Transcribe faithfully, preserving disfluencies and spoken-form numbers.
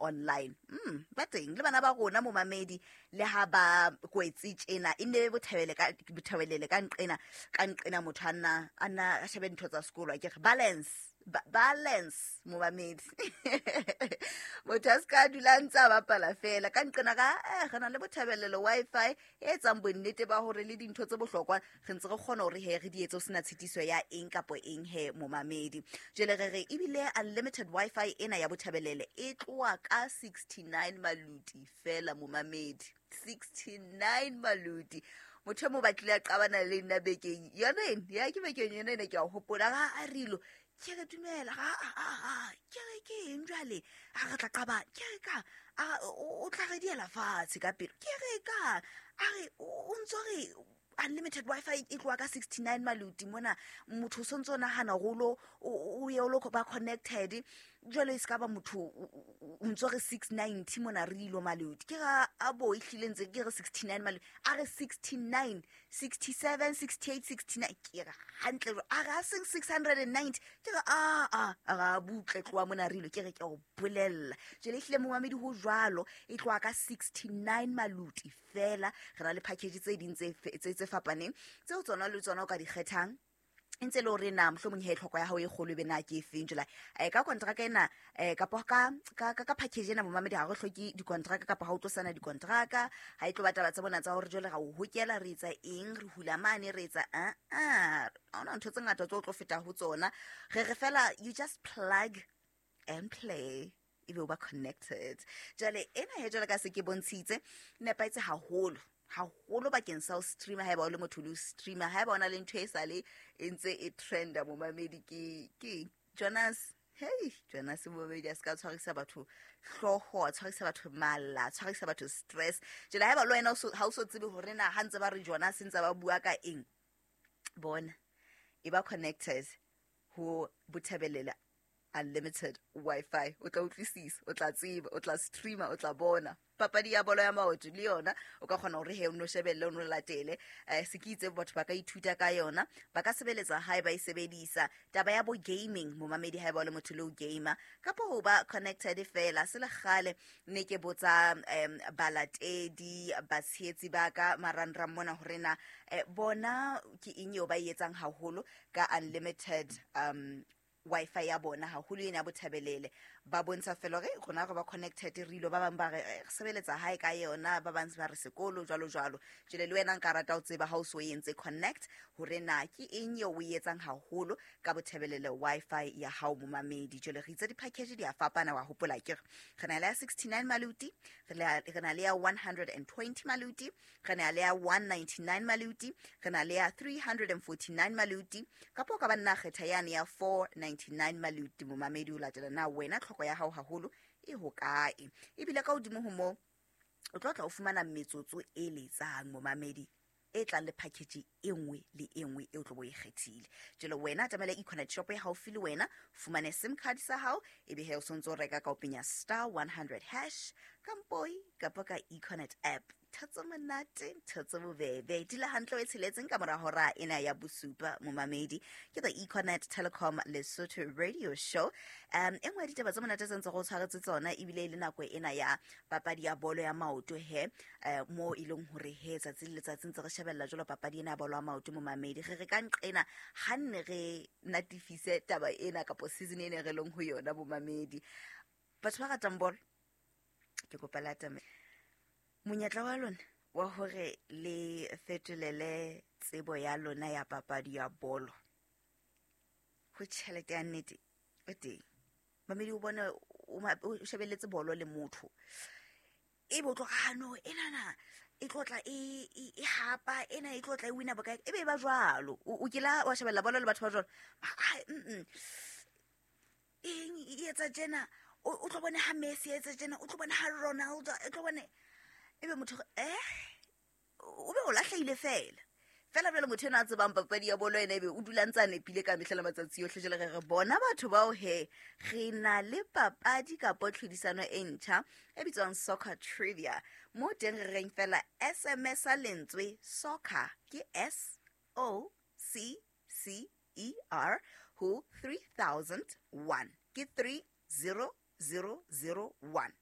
online. Mm, ba teng le bana ba rona, momamedi, le ha ba kwetse tjena, e nne bothabele ka bothabelele ka nqena ka nqena motho a nna a nna a shebe dintho tsa sekolo. Ke re balance, ba balance, momamedi. Motho a se ka dula ntse a bapala fela ka nqena ka eh, re na le Bothabelelo Wi-Fi e etsang bonnete ba hore le dintho tse bohlokwa re ntse re kgona hore he re di etse ho sena tshitiso ya eng kapo eng he, momamedi. Jwale re re ebile unlimited Wi-Fi ena ya Bothabelele e tloha ka sixty-nine maluti fela, momamedi, sixty-nine maluti. Motho e mo batlile a qabana le nna bekeng yona ene ya ke bekeng yona ene, ke a hopola ga a rilo. Ke re dumela ga a ke re ke eng jwale a re tla qabana. Ke re ka a o tla re diela fatshe ka pelo. Ke re ka a re o ntso re unlimited Wi-Fi e tloha ka sixty-nine maluti mona, motho o sontso o nahana hore o ye o lo ba connected jwale e se ka ba motho o ntso re six ninety mona re ilo maluti. Ke ra a bo ehlile ntse ke re sixty-nine maluti, a re sixty-nine, sixty-seven, sixty-eight, sixty-nine. Ke re hantle, a re a seng six hundred and ninety. Ke re a a a ra butle tloha mona re ilo. Ke re ke o bolella jwale ehlile, momamedi, ho jwalo, e tloha ka sixty-nine maluti fela. Re na le package tse ding tse tse fapaneng tseo tsona le tsona o ka di kgethang, e ntse le hore na mohlomong he tlhoko ya hao e kgolo e be na ke efeng. Jwale um ka kontraka ena um kapo ka ka ka package ena, momamedi, ha re hloke dikontraka kapa ha o tlo sana dikontraka, ha e tlo ba taba tsa bona tsa hore jwale ra o hokela, re etsa eng, re hula mane, re etsa a a ha hona ntho tse ngata tse o tlo feta ho tsona. Re re fela you just plug and play, ebe o ba connected. Jwale ena he, jwale ka se ke bontshitse, nepahetse haholo haholo bakeng sa ho streama haeba o le motho le ho streama, haeba o na le ntho e sale e ntse e trenda, momamedi, ke ke Jonas. Hey, Jonas, momamedi, a se ka tshwarisa batho hlooho, a tshwarisa batho mala, a tshwarisa batho stress. Jwale haeba le wena ha o so tsebe hore na ha ntse ba re Jonas ntse ba bua ka eng, bona e ba connected ho Bothabelele unlimited Wi-Fi, o tla utlwisisa, o tla tseba, o tla streama, o tla bona papadi ya bolo ya maoto le yona. O ka kgona hore he o no shebelle, o no latele um se ke itse batho ba ka ithuta ka yona, ba ka sebeletsa hae ba e sebedisa. Taba ya bo gaming, momamedi, haeba o le motho le o gamer kapo ho ba connected fela. Se le kgale ne ke botsa um balatedi, batshehetsi ba ka marangrang mona hore na eh, bona ke eng eo ba e etsang haholo ka unlimited um Wi-Fi ya bona, haholo ena ya Bothabelele. Ba bontsha fela hore rona re ba connected re ilo. Ba bang ba re re sebeletsa hae ka yona, ba bang ba re sekolo, jwalo jwalo. Jwale le wena nka rata ho tseba ha o so entse connect hore na ke eng eo o e etsang haholo ka Bothabelele Wi-Fi ya hao, momamedi. Jwale re itse di-package di a fapana, wa hopola ke re re na le ya sixty-nine maluti, re na le ya one hundred and twenty maluti, re na le ya one ninety-nine maluti, re na le ya three hundred and forty-nine maluti, kapa o ka ba nna kgetha yane ya four ninety-nine maluti, momamedi, o latela na wena tlhoko ya hao haholo e hokae. Ebile ka hodimo ho moo o tlo tla o fumana metsotso e letsang, momamedi, e tlang le package e nngwe le e nngwe e o tlo bo e kgethile. Jwale wena atamela Econet shop e haufi le wena, fumane SIM card sa hao, ebe he o sontso o reka ka o penya star one hundred hash kampoi kapa ka Econet app. Ntho tse monate, ntho tse bobebe, dula hantle o e tsheletseng ka mora hora ena ya bosupa, momamedi. Ke the Econet Telecom Lesotho radio show. um e nngwe ya ditaba tse monate tse ntse go tshwaretse tsona, ebile e le nako ena ya papadi ya bolo ya maoto he, um mo e leng hore he tsatsi le letsatsi ntse re shebella jwalo papadi ena ya bolo ya maoto, momamedi. Re re ka nqena ha nne re natifise taba ena kapo season ene re leng ho yona, momamedi. Batho ba ratang bolo, ke kopa le atame monyetla wa lona wa hore le fetolele tsebo ya lona ya papadi ya bolo ho tjhelete ya nnete o teng, mamedi. O bone o shebelletse bolo le motho, ebe o tlo no enana e tlo tla e e hapa ena, e tlo tla e wina bokae, ebe e ba jwalo. O kila wa shebella bolo le batho ba jwalo? Eng e etsa tjena, o tlo bone ha Messi etsa tjena, o tlo bone ha Ronaldo, e tlo bone ebe motho eh o be o lahlehile fela fela. Jwale motho ena a tsebang papadi ya bolo ena, ebe o dula ntse a nepile ka mehla le matsatsi yohle. Jwale re re bona batho bao he re na le papadi kapo tlhodisano e ntjha e bitswang Soccer Trivia, mo teng re reng fela S M S a lentswe soccer, ke S O C C E R, ho three thousand one, ke three zero zero zero one.